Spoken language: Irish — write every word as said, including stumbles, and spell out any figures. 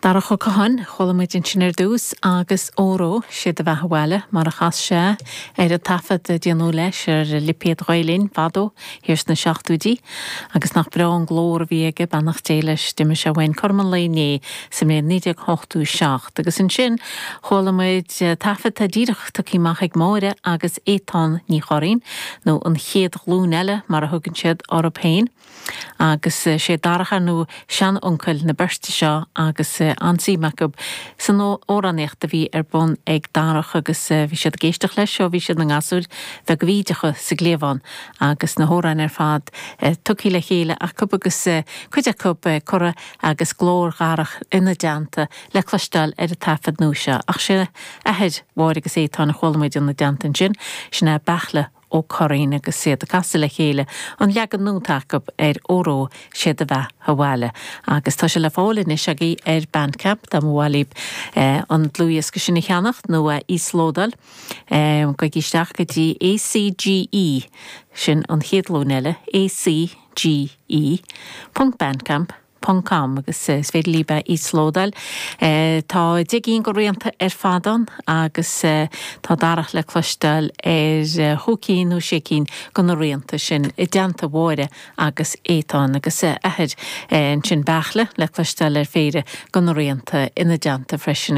Darach Ó Catháin, chuala muid ansin ar dtús agus Óró sé do bheatha abhaile mar a chas sé ar an taifead a déanadh leis ar lipéad Ghael-Linn fadó thiar sna seachtóidí agus nach breá an glór a bhí aige beannacht Dé leis d'imigh sé uainn cothrom an lae inné sa mbliain naoi déag ochtó seacht agus ansin chuala muid taifead atá díreach tugtha amach ag Máire agus Étáin Ní Churraoin nó an chéad ghlúin eile mar a thugann siad orthu féin. Agus sé Darach ar ndóigh seanuncail na beirte seo agus an-suim acu san amhránaíocht a bhí ar bun ag Darach agus bhí siad ag éisteacht leis ó bhí siad ina ngasúir bheaga bhídeacha sa gcliabhán agus na hamhráin ar fad tugtha le chéile acu agus cuid acu curtha agus glór Dharach ina dteannta le cloisteáil ar an taifead nua seo. Ach sé athair Mháire agus Étáin a chuala muid ina dteannta ansin, sin é Beartla Ó Curraoin agus iad ag casadh le chéile an leagan nua atá acu ar Óró sé do bheatha abhaile. Agus tá sé le fáil anois agaibh ar Bandcamp dá mba mhaith libh an dlúthdhiosca sin a cheannacht nó a íoslódáil. Gabhaigí isteach go dtí ACGE sin an chéad ghlúin eile ACGE ponc bandcamp ponc com agus is féidir libh é íoslódáil. Tá deich gcinn de rianta ar fad ann agus tá Darach le cloisteáil ar chúig cinn nó sé cinn de na rianta sin i dteannta Mháire agus Étáin agus athair ansin Beartla le cloisteáil ar phéire de na rianta ina dteannta freisin.